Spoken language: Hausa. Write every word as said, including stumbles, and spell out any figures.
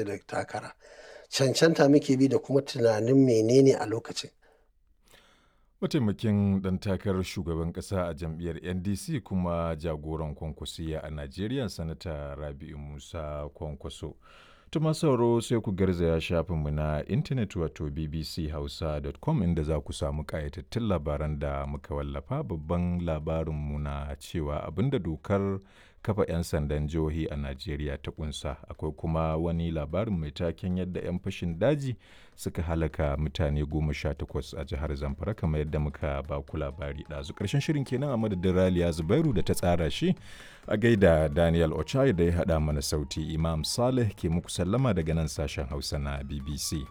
Da takara. Cancanta muke bi da kuma tunanin menene a lokacin. Mataimakin ɗan takarar shugaban ƙasa a jam'iyyar N D C kuma jagoran Kwankwasiyya a Najeriya, Sanata Rabi'u Musa Kwankwaso. To masu sauraro, sai ku garzaya shafinmu na intanet wato B B C hausa dot com, inda za ku samu ƙayatattun labaran da muka wallafa. Babban labarinmu na cewa abinda dokar kafa 'yan sandan jihohi a Najeriya ta kunsa. Akwai kuma wani labarin mai taken yadda 'yan fashin daji suka halaka mutane goma sha takwas a jihar Zamfara, kamar yadda muka ba ku labari ɗazu. Ƙarshen shirin kenan a madadin Raliya Zubairu da ta tsara shi, a gaida Daniel Ochai da ya haɗa mana sauti. Imam Saleh ke muku sallama daga nan sashen Hausa na B B C.